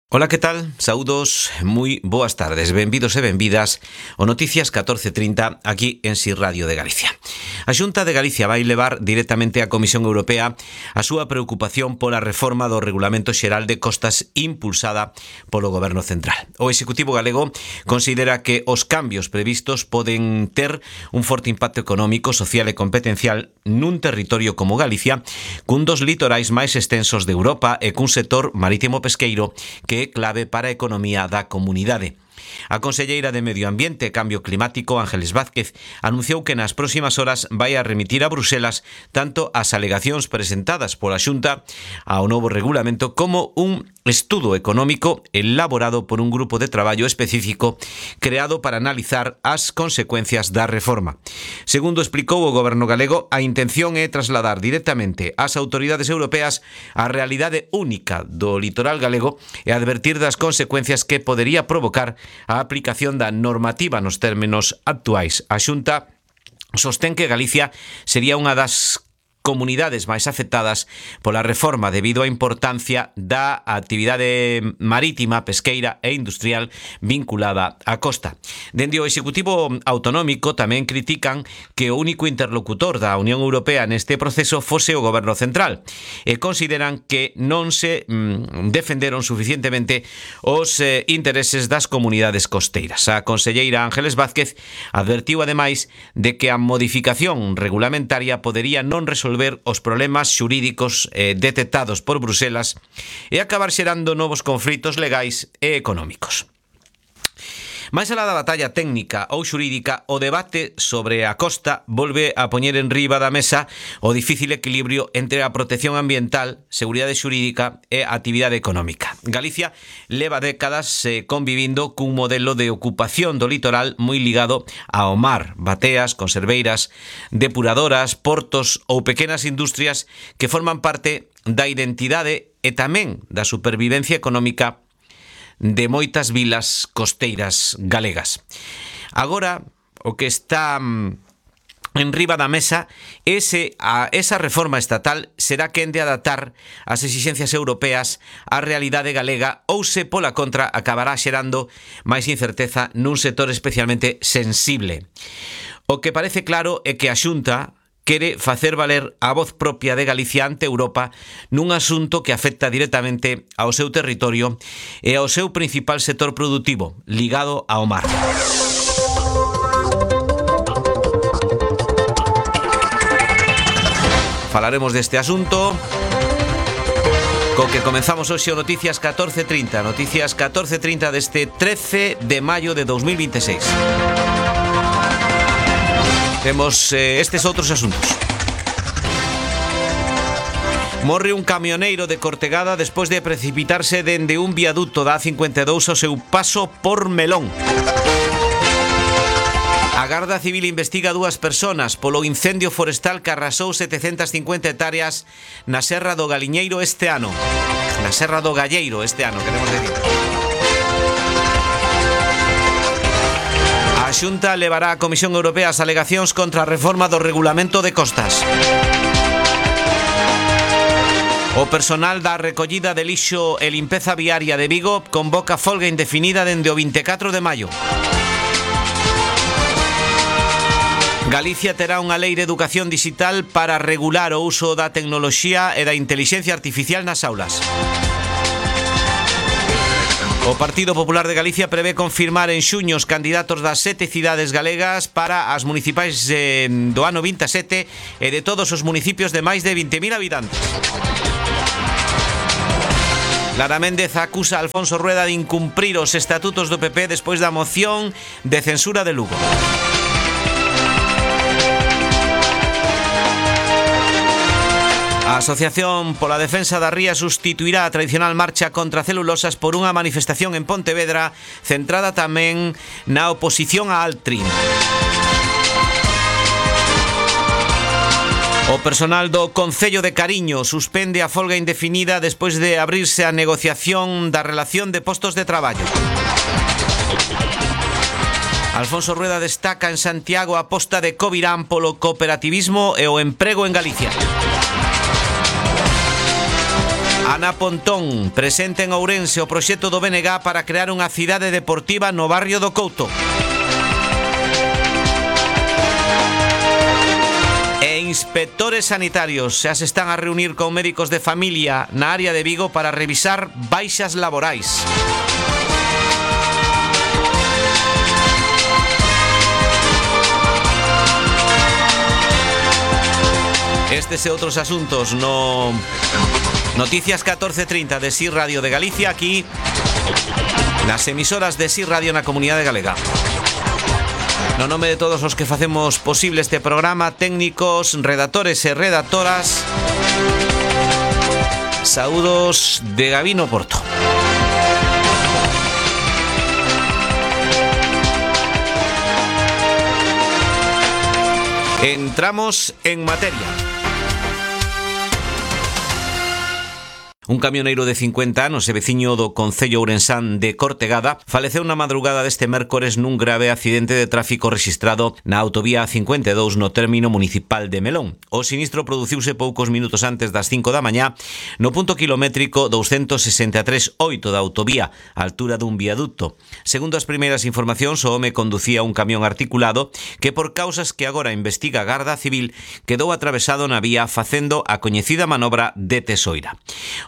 Ola, que tal? Saúdos, moi boas tardes, benvidos e benvidas o Noticias 1430 aquí en Si Radio de Galicia. A Xunta de Galicia vai levar directamente á Comisión Europea a súa preocupación pola reforma do Regulamento Xeral de Costas impulsada polo Goberno Central. O Executivo galego considera que os cambios previstos poden ter un forte impacto económico, social e competencial nun territorio como Galicia, cun dos litorais máis extensos de Europa e cun sector marítimo pesqueiro que é clave para a economía da comunidade. A conselleira de Medio Ambiente e Cambio Climático, Ángeles Vázquez, anunciou que nas próximas horas vai a remitir a Bruselas tanto as alegacións presentadas pola Xunta ao novo regulamento como un estudo económico elaborado por un grupo de traballo específico creado para analizar as consecuencias da reforma. Segundo explicou o Goberno galego, a intención é trasladar directamente ás autoridades europeas a realidade única do litoral galego e advertir das consecuencias que podería provocar a aplicación da normativa nos términos actuais. A Xunta sostén que Galicia sería unha das comunidades máis afectadas pola reforma debido á importancia da actividade marítima, pesqueira e industrial vinculada á costa. Dende o Executivo Autonómico tamén critican que o único interlocutor da Unión Europea neste proceso fose o Goberno Central e consideran que non se defenderon suficientemente os intereses das comunidades costeiras. A conselleira Ángeles Vázquez advertiu ademais de que a modificación regulamentaria podería non resolver os problemas xurídicos detectados por Bruselas e acabar xerando novos conflitos legais e económicos. Mais alá da batalla técnica ou xurídica, o debate sobre a costa volve a poñer en riba da mesa o difícil equilibrio entre a protección ambiental, seguridade xurídica e a actividade económica. Galicia leva décadas convivindo cun modelo de ocupación do litoral moi ligado ao mar, bateas, conserveiras, depuradoras, portos ou pequenas industrias que forman parte da identidade e tamén da supervivencia económica de moitas vilas costeiras galegas. Agora, o que está en riba da mesa esa reforma estatal será quen de adaptar as exixencias europeas á realidade galega ou se pola contra acabará xerando máis incerteza nun sector especialmente sensible. O que parece claro é que a Xunta quere facer valer a voz propia de Galicia ante Europa nun asunto que afecta directamente ao seu territorio e ao seu principal sector productivo, ligado ao mar. Falaremos deste asunto co que comenzamos hoxe o Noticias 1430. Noticias 1430 deste 13 de maio de 2026. Temos estes outros asuntos. Morre un camioneiro de Cortegada despois de precipitarse dende un viaduto da A52 ao seu paso por Melón. A Garda Civil investiga 2 persoas polo incendio forestal que arrasou 750 hectáreas na Serra do Galiñeiro este ano. Na Serra do Galleiro este ano, queremos decir. A Xunta levará á Comisión Europea as alegacións contra a reforma do Regulamento de Costas. O personal da recollida de lixo e limpeza viaria de Vigo convoca folga indefinida dende o 24 de maio. Galicia terá unha lei de educación digital para regular o uso da tecnoloxía e da intelixencia artificial nas aulas. O Partido Popular de Galicia prevé confirmar en xuño os candidatos das 7 cidades galegas para as municipais do ano 27 e de todos os municipios de máis de 20.000 habitantes. Lara Méndez acusa a Alfonso Rueda de incumprir os estatutos do PP despois da moción de censura de Lugo. A Asociación pola Defensa da Ría sustituirá a tradicional marcha contra celulosas por unha manifestación en Pontevedra centrada tamén na oposición a Altrin. O personal do Concello de Cariño suspende a folga indefinida despois de abrirse a negociación da relación de postos de traballo. Alfonso Rueda destaca en Santiago a aposta de Covirán polo cooperativismo e o emprego en Galicia. Ana Pontón presenta en Ourense o proxecto do BNG para crear unha cidade deportiva no barrio do Couto. E inspectores sanitarios xa se están a reunir con médicos de familia na área de Vigo para revisar baixas laborais. Estes e outros asuntos no Noticias 14:30 de SIR Radio de Galicia, aquí nas emisoras de SIR Radio na Comunidade Galega. No nome de todos os que facemos posible este programa, técnicos, redactores e redactoras, saúdos de Gabino Porto. Entramos en materia. Un camioneiro de 50 anos e veciño do concello ourensán de Cortegada faleceu na madrugada deste mércores nun grave accidente de tráfico rexistrado na autovía A52 no término municipal de Melón. O sinistro produciuse poucos minutos antes das 5 da mañá no punto kilométrico 263,8 da autovía, á altura dun viaducto. Segundo as primeiras informacións, o home conducía un camión articulado que, por causas que agora investiga a Garda Civil, quedou atravesado na vía facendo a coñecida manobra de tesoira.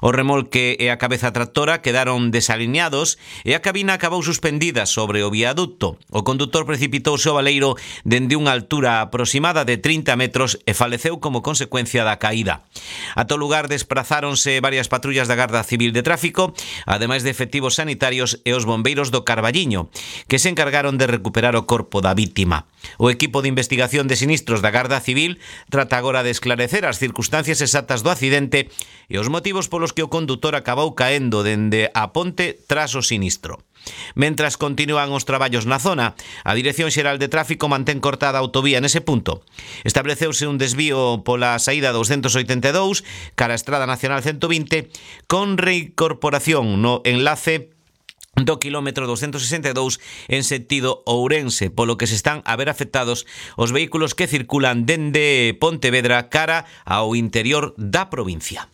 O remolque e a cabeza tractora quedaron desalineados e a cabina acabou suspendida sobre o viaducto. O condutor precipitouse ao baleiro dende unha altura aproximada de 30 metros e faleceu como consecuencia da caída. Ata o lugar desprazáronse varias patrullas da Garda Civil de Tráfico, ademais de efectivos sanitarios e os bombeiros do Carballiño, que se encargaron de recuperar o corpo da vítima. O equipo de investigación de sinistros da Garda Civil trata agora de esclarecer as circunstancias exactas do accidente e os motivos polos que o condutor acabou caendo dende a ponte tras o sinistro. Mentras continúan os traballos na zona, a Dirección Xeral de Tráfico mantén cortada a autovía nese punto. Estableceuse un desvío pola saída 282 cara a Estrada Nacional 120 con reincorporación no enlace do quilómetro 262 en sentido Ourense, polo que se están a ver afectados os vehículos que circulan dende Pontevedra cara ao interior da provincia.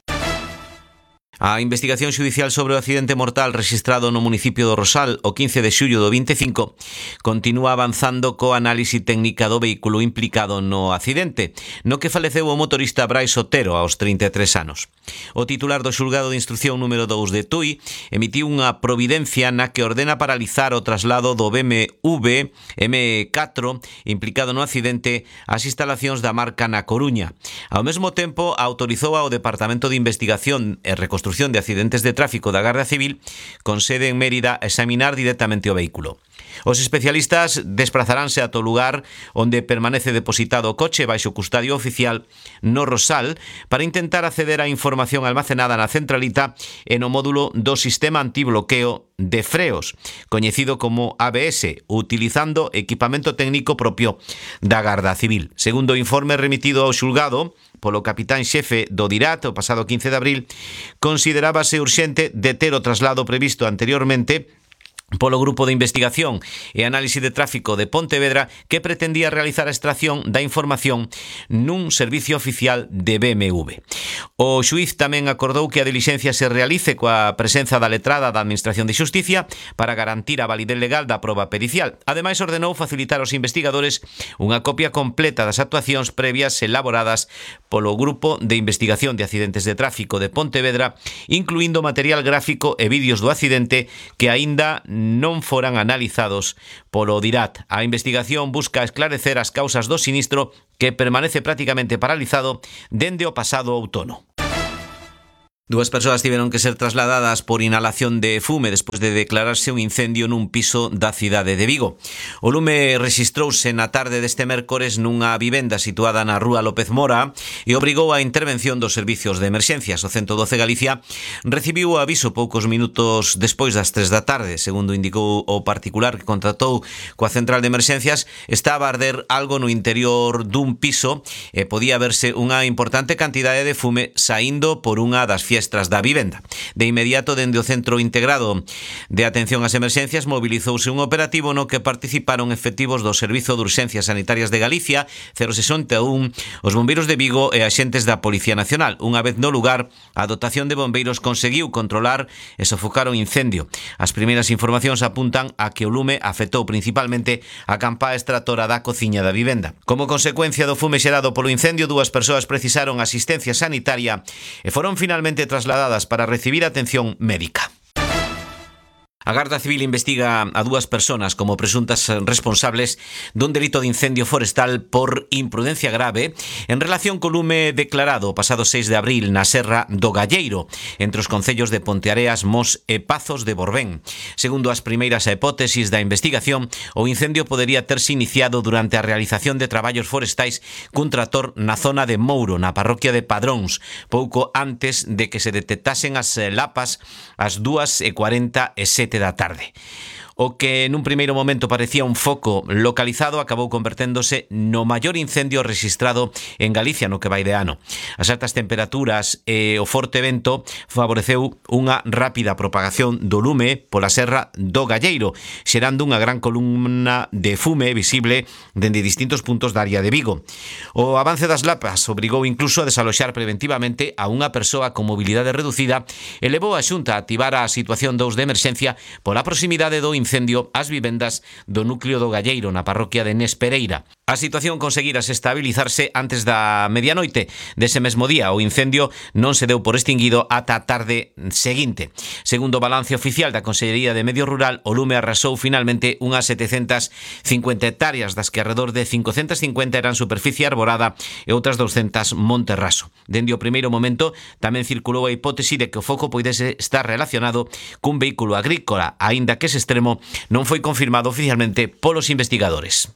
A investigación xudicial sobre o accidente mortal rexistrado no municipio do Rosal o 15 de xullo do 25 continúa avanzando co análise técnica do vehículo implicado no accidente, no que faleceu o motorista Brais Otero aos 33 anos. O titular do xulgado de instrucción número 2 de Tui emitiu unha providencia na que ordena paralizar o traslado do BMW M4 implicado no accidente ás instalacións da marca na Coruña. Ao mesmo tempo, autorizou ao Departamento de Investigación e Reconstrucción de Accidentes de Tráfico da Garda Civil con sede en Mérida a examinar directamente o vehículo. Os especialistas desplazaránse ata o lugar onde permanece depositado o coche baixo custodia oficial no Rosal para intentar acceder á información almacenada na centralita e no módulo do sistema antibloqueo de freos, coñecido como ABS, utilizando equipamento técnico propio da Garda Civil. Segundo o informe remitido ao xulgado polo capitán xefe do DIRAT o pasado 15 de abril, considerábase urxente deter o traslado previsto anteriormente polo Grupo de Investigación e Análise de Tráfico de Pontevedra, que pretendía realizar a extracción da información nun servicio oficial de BMW. O xuíz tamén acordou que a dilixencia se realice coa presenza da letrada da Administración de Xusticia para garantir a validez legal da proba pericial. Ademais, ordenou facilitar aos investigadores unha copia completa das actuacións previas elaboradas polo Grupo de Investigación de Accidentes de Tráfico de Pontevedra, incluindo material gráfico e vídeos do accidente que aínda non foran analizados polo DIRAT. A investigación busca esclarecer as causas do sinistro que permanece prácticamente paralizado dende o pasado outono. Dúas persoas tiveron que ser trasladadas por inhalación de fume despois de declararse un incendio nun piso da cidade de Vigo. O lume rexistrouse na tarde deste mércores nunha vivenda situada na rúa López Mora e obrigou a intervención dos servicios de emerxencias. O 112 Galicia recibiu o aviso poucos minutos despois das 3 da tarde. Segundo indicou o particular que contratou coa central de emerxencias, estaba a arder algo no interior dun piso e podía verse unha importante cantidade de fume saindo por unha das fiestras da vivenda. De inmediato, dende o Centro Integrado de Atención ás Emerxencias, mobilizouse un operativo no que participaron efectivos do Servizo de Urxencias Sanitarias de Galicia, 061, os bombeiros de Vigo e axentes da Policía Nacional. Unha vez no lugar, a dotación de bombeiros conseguiu controlar e sofocar o incendio. As primeiras informacións apuntan a que o lume afectou principalmente a campá extractora da cociña da vivenda. Como consecuencia do fume xerado polo incendio, 2 persoas precisaron asistencia sanitaria e foron finalmente trasladadas para recibir atención médica. A Garda Civil investiga a 2 persoas como presuntas responsables dun delito de incendio forestal por imprudencia grave en relación co lume declarado o pasado 6 de abril na Serra do Galleiro, entre os concellos de Ponteareas, Mos e Pazos de Borbén. Segundo as primeiras hipótesis da investigación, o incendio podería terse iniciado durante a realización de traballos forestais cun tractor na zona de Mouro, na parroquia de Padróns, pouco antes de que se detectasen as lapas ás 2:47 da tarde. O que nun primeiro momento parecía un foco localizado acabou converténdose no maior incendio registrado en Galicia no que vai de ano. As altas temperaturas e o forte vento favoreceu unha rápida propagación do lume pola Serra do Galleiro, xerando unha gran columna de fume visible dende distintos puntos da área de Vigo. O avance das lapas obrigou incluso a desaloxar preventivamente a unha persoa con mobilidade reducida e levou a Xunta a activar a situación 2 de emerxencia pola proximidade do incendio ás vivendas do núcleo do Galleiro na parroquia de Nespereira. A situación conseguirase estabilizarse antes da medianoite dese mesmo día. O incendio non se deu por extinguido ata a tarde seguinte. Segundo o balance oficial da Consellería de Medio Rural, o lume arrasou finalmente unhas 750 hectáreas, das que alrededor de 550 eran superficie arborada e outras 200 monte raso. Dende o primeiro momento tamén circulou a hipótese de que o foco poidese estar relacionado cun vehículo agrícola, aínda que ese extremo non foi confirmado oficialmente polos investigadores.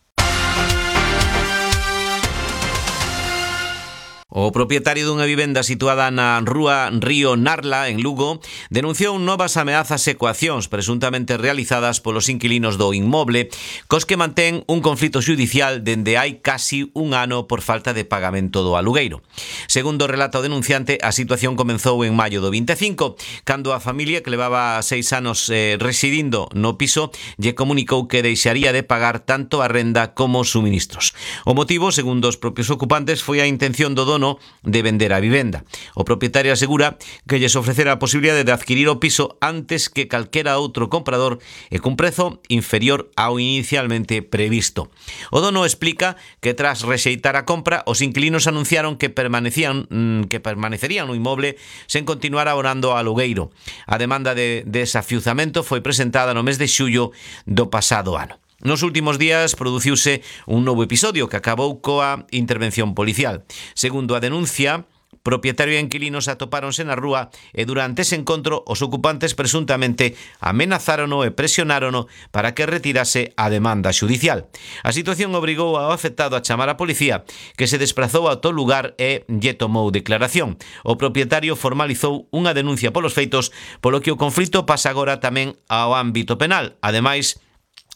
O propietario dunha vivenda situada na rúa Río Narla, en Lugo, denunciou novas ameazas e coaccións presuntamente realizadas polos inquilinos do inmoble, cos que mantén un conflito xudicial dende hai casi un ano por falta de pagamento do alugueiro. Segundo relata o denunciante, a situación comenzou en maio do 25, cando a familia que levaba 6 anos residindo no piso lle comunicou que deixaría de pagar tanto a renda como os suministros. O motivo, segundo os propios ocupantes, foi a intención do dono de vender a vivenda. O propietario asegura que lles ofrecera a posibilidade de adquirir o piso antes que calquera outro comprador e cun prezo inferior ao inicialmente previsto. O dono explica que tras rexeitar a compra, os inquilinos anunciaron que permanecerían no inmoble sen continuar abonando ao alugueiro. A demanda de desafiuzamento foi presentada no mes de xullo do pasado ano. Nos últimos días produciuse un novo episodio que acabou coa intervención policial. Segundo a denuncia, propietario e inquilinos atopáronse na rúa e durante ese encontro os ocupantes presuntamente amenazárono e presionárono para que retirase a demanda xudicial. A situación obrigou ao afectado a chamar a policía, que se desprazou ao tal lugar e lle tomou declaración. O propietario formalizou unha denuncia polos feitos, polo que o conflito pasa agora tamén ao ámbito penal, ademais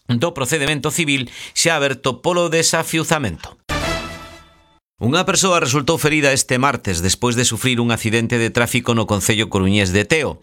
do procedemento civil xa aberto polo desafiuzamento. Unha persoa resultou ferida este martes despois de sufrir un accidente de tráfico no concello coruñés de Teo.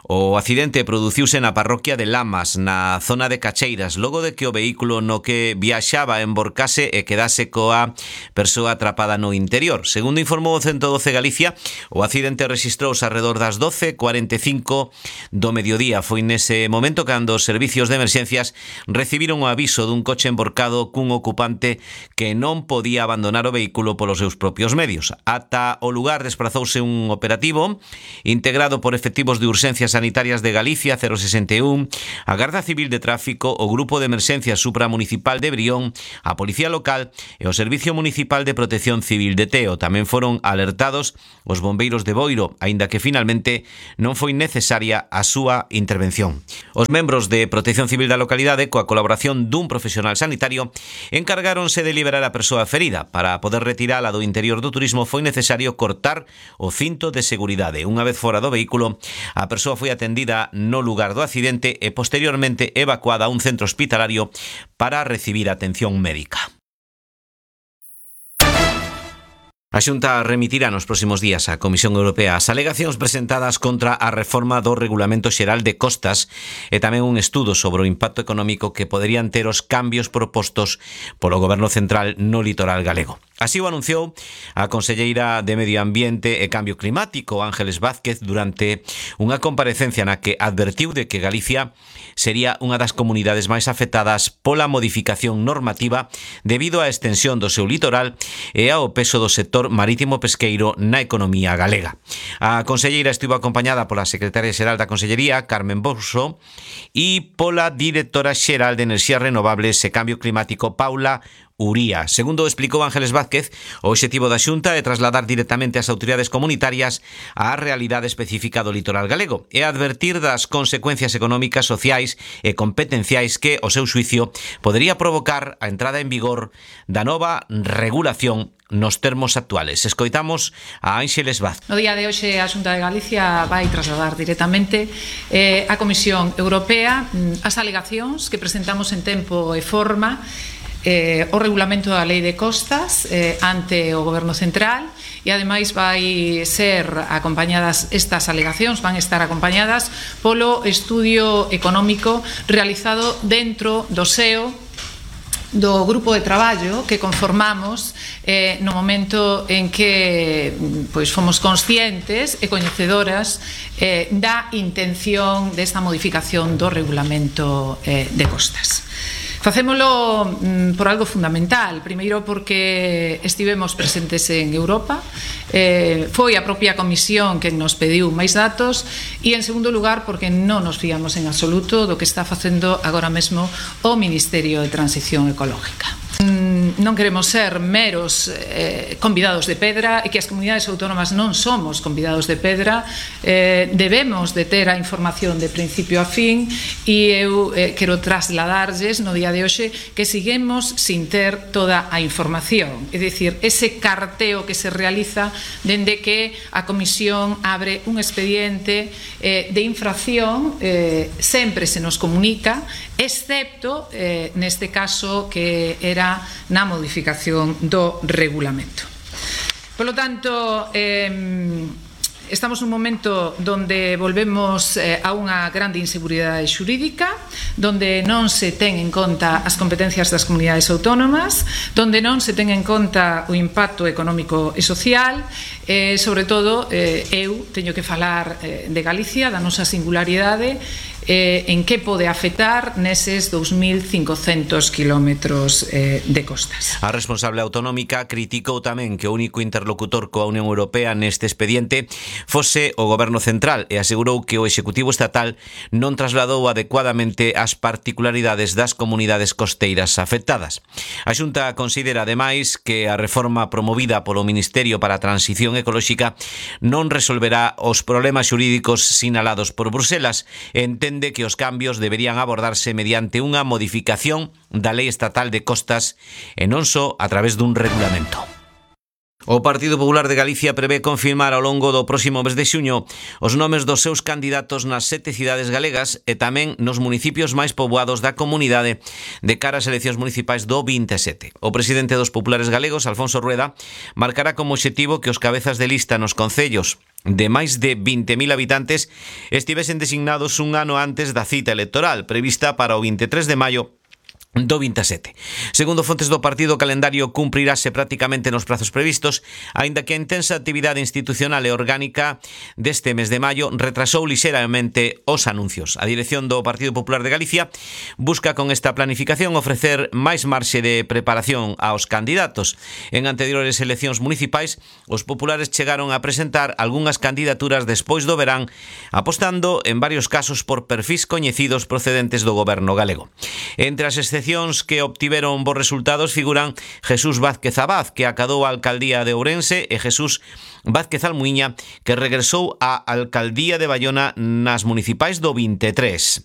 O accidente produciuse na parroquia de Lamas, na zona de Cacheiras, logo de que o vehículo no que viaxaba emborcase e quedase coa persoa atrapada no interior. Segundo informou o 112 Galicia, o accidente registrouse alrededor das 12:45 do mediodía. Foi nese momento cando os servicios de emerxencias recibiron o aviso dun coche emborcado cun ocupante que non podía abandonar o vehículo polos seus propios medios. Ata o lugar desprazouse un operativo integrado por efectivos de urxencias sanitarias de Galicia, 061, a Garda Civil de Tráfico, o Grupo de Emerxencias Supramunicipal de Brión, a Policía Local e o Servicio Municipal de Protección Civil de Teo. Tamén foron alertados os bombeiros de Boiro, aínda que finalmente non foi necesaria a súa intervención. Os membros de Protección Civil da localidade, coa colaboración dun profesional sanitario, encargáronse de liberar a persoa ferida. Para poder retirala do interior do turismo foi necesario cortar o cinto de seguridade. Unha vez fora do vehículo, a persoa foi atendida no lugar do accidente e posteriormente evacuada a un centro hospitalario para recibir atención médica. A Xunta remitirá nos próximos días á Comisión Europea as alegacións presentadas contra a reforma do Regulamento Xeral de Costas e tamén un estudo sobre o impacto económico que poderían ter os cambios propostos polo Goberno Central no litoral galego. Así o anunciou a conselleira de Medio Ambiente e Cambio Climático, Ángeles Vázquez, durante unha comparecencia na que advertiu de que Galicia sería unha das comunidades máis afectadas pola modificación normativa debido á extensión do seu litoral e ao peso do sector marítimo pesqueiro na economía galega. A conselleira estivo acompañada pola secretaria xeral da Consellería, Carmen Bouso, e pola directora xeral de Enerxías Renovables e Cambio Climático, Paula Uría. Segundo explicou Ángeles Vázquez, o obxectivo da Xunta é trasladar directamente ás autoridades comunitarias á realidade específica do litoral galego e advertir das consecuencias económicas, sociais e competenciais que, o seu xuicio, podería provocar a entrada en vigor da nova regulación nos termos actuales. Escoitamos a Ángeles Vázquez. No día de hoxe a Xunta de Galicia vai trasladar directamente á Comisión Europea as alegacións que presentamos en tempo e forma o regulamento da Lei de Costas ante o Goberno Central e ademais vai ser acompañadas estas alegacións, van estar acompañadas polo estudio económico realizado dentro do SEO do grupo de traballo que conformamos no momento en que fomos conscientes e coñecedoras da intención desta modificación do regulamento de costas. Facémolo por algo fundamental. Primeiro porque estivemos presentes en Europa, foi a propia Comisión que nos pediu máis datos, e en segundo lugar porque non nos fiamos en absoluto do que está facendo agora mesmo o Ministerio de Transición Ecológica. Non queremos ser meros convidados de pedra, e que as comunidades autónomas non somos convidados de pedra. Debemos de ter a información de principio a fin, e eu quero trasladarlles no día de hoxe que seguimos sin ter toda a información, é dicir, ese carteo que se realiza dende que a Comisión abre un expediente de infracción, sempre se nos comunica, excepto neste caso que era na modificación do regulamento. Por lo tanto, estamos nun momento donde volvemos a unha grande inseguridade xurídica, donde non se ten en conta as competencias das comunidades autónomas, donde non se ten en conta o impacto económico e social, sobre todo eu teño que falar de Galicia, da nosa singularidade, en que pode afectar neses 2.500 kilómetros de costas. A responsable autonómica criticou tamén que o único interlocutor coa Unión Europea neste expediente fose o Goberno Central e asegurou que o Executivo Estatal non trasladou adecuadamente as particularidades das comunidades costeiras afectadas. A Xunta considera, ademais, que a reforma promovida polo Ministerio para a Transición Ecolóxica non resolverá os problemas xurídicos sinalados por Bruselas e entende que os cambios deberían abordarse mediante unha modificación da Lei Estatal de Costas e non só a través dun regulamento. O Partido Popular de Galicia prevé confirmar ao longo do próximo mes de xuño os nomes dos seus candidatos nas 7 cidades galegas e tamén nos municipios máis poboados da comunidade de cara ás eleccións municipais do 27. O presidente dos populares galegos, Alfonso Rueda, marcará como obxectivo que os cabezas de lista nos concellos de máis de 20.000 habitantes estivesen designados un ano antes da cita electoral prevista para o 23 de maio do 27. Segundo fontes do partido, o calendario cumprirase prácticamente nos prazos previstos, aínda que a intensa actividade institucional e orgánica deste mes de maio retrasou lixeramente os anuncios. A dirección do Partido Popular de Galicia busca con esta planificación ofrecer máis marxe de preparación aos candidatos. En anteriores eleccións municipais, os populares chegaron a presentar algunhas candidaturas despois do verán, apostando en varios casos por perfis coñecidos procedentes do goberno galego. Entre as que obtiveron bons resultados figuran Jesús Vázquez Abad, que acadou a alcaldía de Ourense, e Jesús Vázquez Almuíña, que regresou á alcaldía de Baiona nas municipais do 23.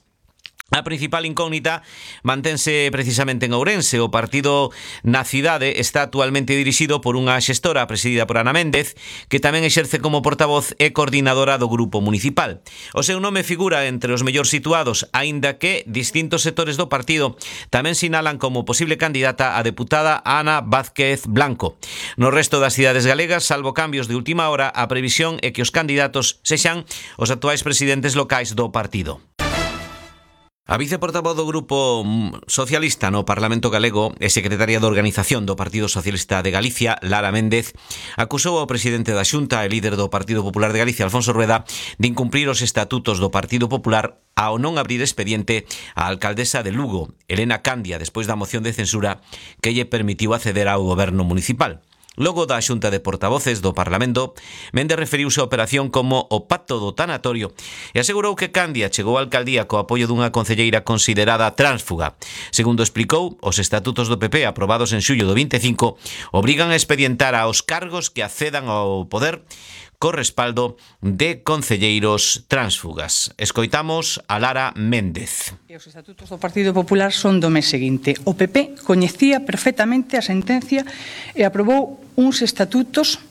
A principal incógnita mantense precisamente en Ourense. O partido na cidade está actualmente dirixido por unha xestora presidida por Ana Méndez, que tamén exerce como portavoz e coordinadora do grupo municipal. O seu nome figura entre os mellor situados, aínda que distintos sectores do partido tamén sinalan como posible candidata a deputada Ana Vázquez Blanco. No resto das cidades galegas, salvo cambios de última hora, a previsión é que os candidatos sexan os actuais presidentes locais do partido. A viceportavoz do Grupo Socialista no Parlamento Galego e secretaria de Organización do Partido Socialista de Galicia, Lara Méndez, acusou ao presidente da Xunta e líder do Partido Popular de Galicia, Alfonso Rueda, de incumprir os estatutos do Partido Popular ao non abrir expediente á alcaldesa de Lugo, Elena Candia, despois da moción de censura que lle permitiu acceder ao goberno municipal. Logo da Xunta de Portavoces do Parlamento, Méndez referiuse á operación como o pacto do tanatorio e asegurou que Candia chegou á alcaldía co apoio dunha concelleira considerada tránsfuga. Segundo explicou, os estatutos do PP aprobados en xullo do 25 obrigan a expedientar aos cargos que accedan ao poder co respaldo de concelleiros tránsfugas. Escoitamos a Lara Méndez. Os estatutos do Partido Popular son do mes seguinte. O PP coñecía perfectamente a sentencia e aprobou uns estatutos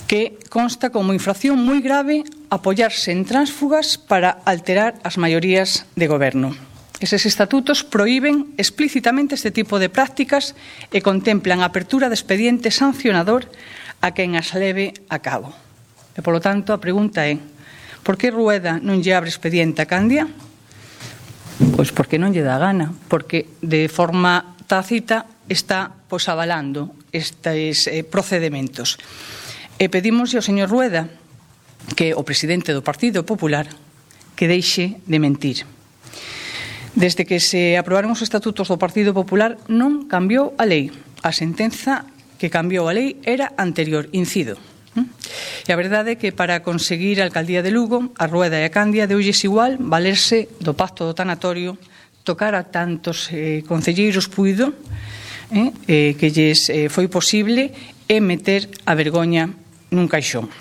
que consta como infracción moi grave apoiarse en tránsfugas para alterar as maiorías de goberno. Eses estatutos prohíben explícitamente este tipo de prácticas e contemplan a apertura de expediente sancionador a quen as leve a cabo. E, polo tanto, a pregunta é: por que Rueda non lle abre expediente a Candia? Pois porque non lle dá gana, porque de forma tácita está avalando estes procedementos. E pedimos ao señor Rueda, que é o presidente do Partido Popular, que deixe de mentir. Desde que se aprobaron os estatutos do Partido Popular non cambiou a lei. A sentenza que cambiou a lei era anterior, incido. E a verdade é que para conseguir a alcaldía de Lugo, a Rueda e a Candia deulles igual valerse do pacto do tanatorio, tocar a tantos concelleiros puido que lles foi posible e meter a vergoña nun caixón.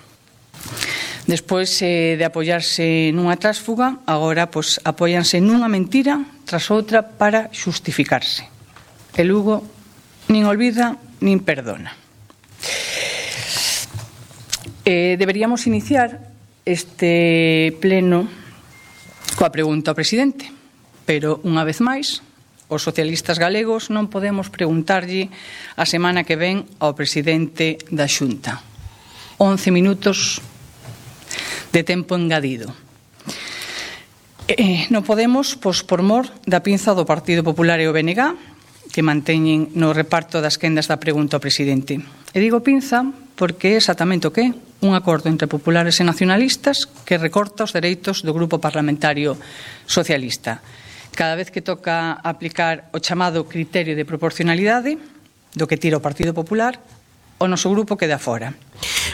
Despois de apoiarse nunha trásfuga, agora apóianse nunha mentira tras outra para xustificarse. E Lugo nin olvida nin perdona. Deberíamos iniciar este pleno coa pregunta ao presidente, pero unha vez máis, os socialistas galegos non podemos preguntarlle a semana que ven ao presidente da Xunta. 11 minutos de tempo engadido. Non podemos, por mor da pinza do Partido Popular e o BNG, que manteñen no reparto das quendas da pregunta ao presidente. E digo pinza porque é exactamente o que é un acordo entre populares e nacionalistas que recorta os dereitos do grupo parlamentario socialista. Cada vez que toca aplicar o chamado criterio de proporcionalidade, do que tira o Partido Popular, o noso grupo queda fora.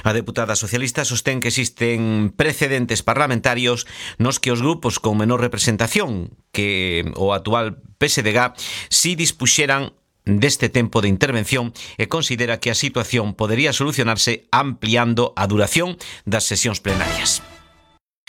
A deputada socialista sostén que existen precedentes parlamentarios nos que os grupos con menor representación que o actual PSDG si dispuxeran deste tempo de intervención e considera que a situación podería solucionarse ampliando a duración das sesións plenarias.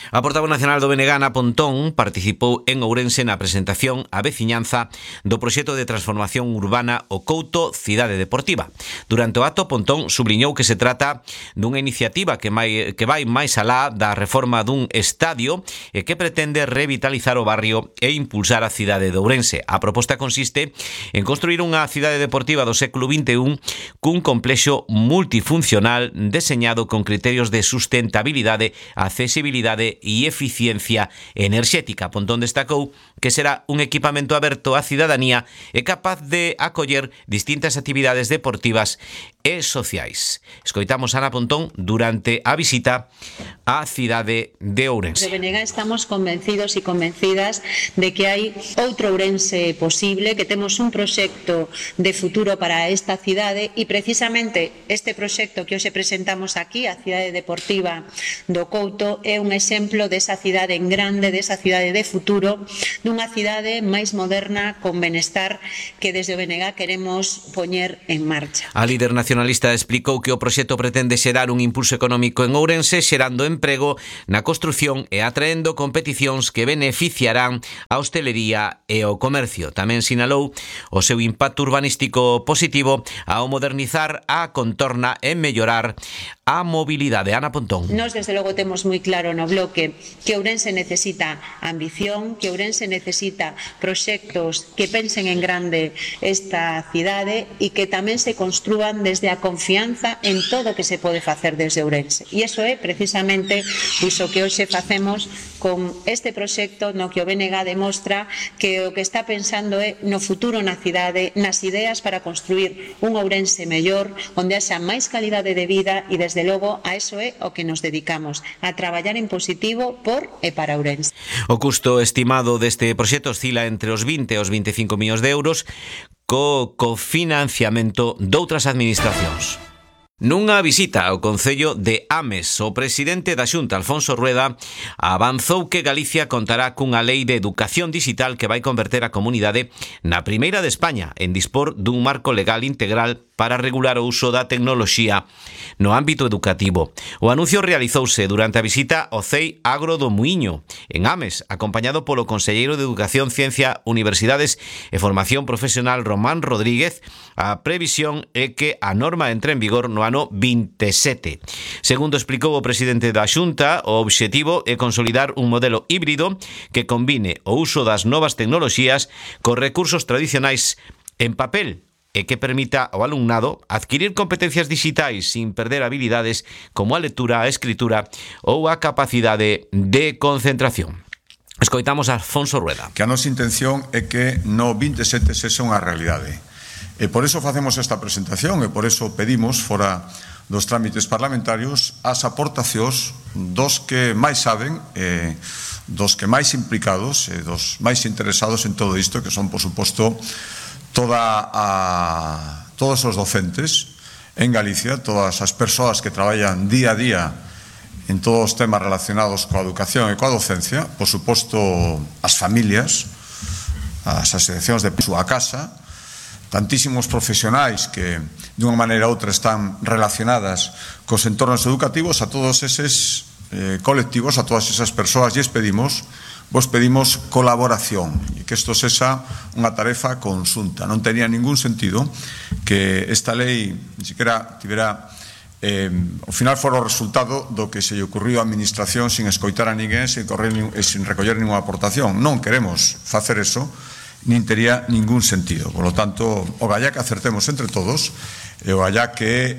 A portavoz nacional do BNG, Ana Pontón, participou en Ourense na presentación á veciñanza do proxecto de transformación urbana O Couto Cidade Deportiva. Durante o acto, Pontón subliñou que se trata dunha iniciativa que vai máis alá da reforma dun estadio e que pretende revitalizar o barrio e impulsar a cidade de Ourense. A proposta consiste en construir unha cidade deportiva do século XXI cun complexo multifuncional deseñado con criterios de sustentabilidade, accesibilidade e eficiencia enerxética. Pontón destacou que será un equipamento aberto á cidadanía e capaz de acoller distintas actividades deportivas e sociais. Escoitamos a Ana Pontón durante a visita á cidade de Ourense. De BNG estamos convencidos e convencidas de que hai outro Ourense posible, que temos un proxecto de futuro para esta cidade e precisamente este proxecto que hoxe presentamos aquí, a cidade deportiva do Couto, é un exemplo exemplo desa cidade en grande, desa cidade de futuro, dunha cidade máis moderna, con benestar, que desde o BNG queremos poñer en marcha. A líder nacionalista explicou que o proxecto pretende xerar un impulso económico en Ourense, xerando emprego na construción e atraendo competicións que beneficiarán a hostelería e o comercio. Tamén sinalou o seu impacto urbanístico positivo ao modernizar a contorna e mellorar a mobilidade. Ana Pontón. Nós, desde logo, temos moi claro no bloque que Ourense necesita ambición, que Ourense necesita proxectos que pensen en grande esta cidade e que tamén se construan desde a confianza en todo o que se pode facer desde Ourense. E iso é precisamente iso que hoxe facemos con este proxecto no que o BNG demostra que o que está pensando é no futuro na cidade, nas ideas para construir un Ourense mellor, onde haxa máis calidade de vida e desde logo a eso é o que nos dedicamos, a traballar en positivo por e para Ourense. O custo estimado deste proxecto oscila entre os 20 e os 25 millóns de euros co cofinanciamento doutras administracións. Nunha visita ao Concello de Ames, o presidente da Xunta, Alfonso Rueda, avanzou que Galicia contará cunha lei de educación digital que vai converter a comunidade na primeira de España en dispor dun marco legal integral para regular o uso da tecnoloxía no ámbito educativo. O anuncio realizouse durante a visita ao CEI Agro do Muiño, en Ames, acompañado polo conselleiro de Educación, Ciencia, Universidades e Formación Profesional, Román Rodríguez. A previsión é que a norma entre en vigor no ano 27. Segundo explicou o presidente da Xunta, o obxectivo é consolidar un modelo híbrido que combine o uso das novas tecnoloxías cos recursos tradicionais en papel e que permita ao alumnado adquirir competencias digitais sin perder habilidades como a lectura, a escritura ou a capacidade de concentración. Escoitamos a Alfonso Rueda. Que a nosa intención é que no 27 sexa unha realidade. E por eso facemos esta presentación e por eso pedimos, fora dos trámites parlamentarios, as aportacións dos que máis saben, dos que máis implicados e dos máis interesados en todo isto, que son, por suposto, todos os docentes en Galicia, todas as persoas que traballan día a día en todos os temas relacionados coa educación e coa docencia, por suposto as familias, as asociacións de súa casa, tantísimos profesionais que de unha maneira ou outra están relacionadas cos entornos educativos, a todos eses colectivos, a todas esas persoas, vos pedimos colaboración e que isto sexa unha tarefa conxunta. Non tenía ningún sentido que esta lei ni siquiera tivera ao final fora o resultado do que se lle ocurriu á administración sin escoitar a ninguén, sin recoller ninguna aportación. Non queremos facer eso, nin tería ningún sentido. Por lo tanto, o gallá que acertemos entre todos e o gallá que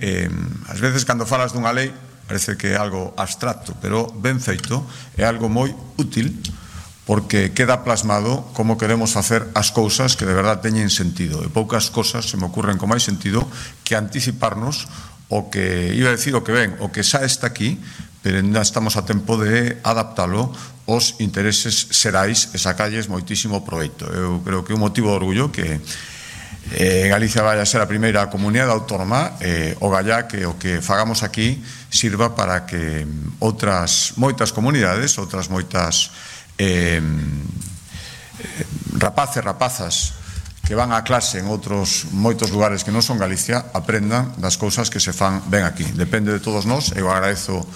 ás veces cando falas dunha lei parece que é algo abstracto, pero ben feito, é algo moi útil porque queda plasmado como queremos facer as cousas que de verdad teñen sentido. E poucas cosas se me ocurren con máis sentido que anticiparnos o que, iba a decir o que ven, o que xa está aquí, pero ainda estamos a tempo de adaptalo aos intereses xerais e sacalles moitísimo proveito. Eu creo que é un motivo de orgullo que Galicia vai a ser a primeira comunidade autónoma, o gallá que o que fagamos aquí sirva para que outras moitas comunidades, outras moitas rapazas que van a clase en outros moitos lugares que non son Galicia aprendan das cousas que se fan ben aquí. Depende de todos nós. Eu agradezo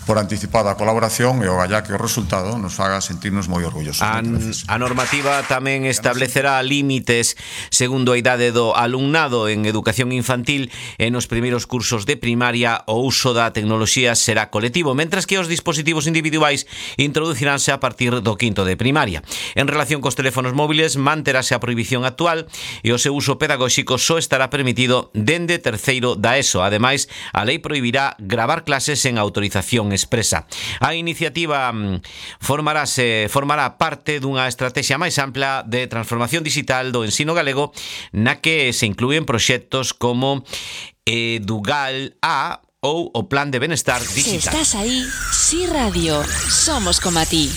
por anticipada a colaboración e o gallá que o resultado nos faga sentirnos moi orgullosos. A normativa tamén establecerá límites segundo a idade do alumnado en educación infantil e nos primeiros cursos de primaria o uso da tecnoloxía será colectivo, mentras que os dispositivos individuais introduciránse a partir do quinto de primaria. En relación cos teléfonos móviles, manterase a prohibición actual e o seu uso pedagóxico só estará permitido dende terceiro da ESO. Ademais, a lei prohibirá gravar clases en autorización expresa. A iniciativa formará parte dunha estrategia máis ampla de transformación digital do ensino galego, na que se inclúen proxectos como Edugal A ou o Plan de Benestar Digital. Si estás aí, Si Radio, somos como a ti.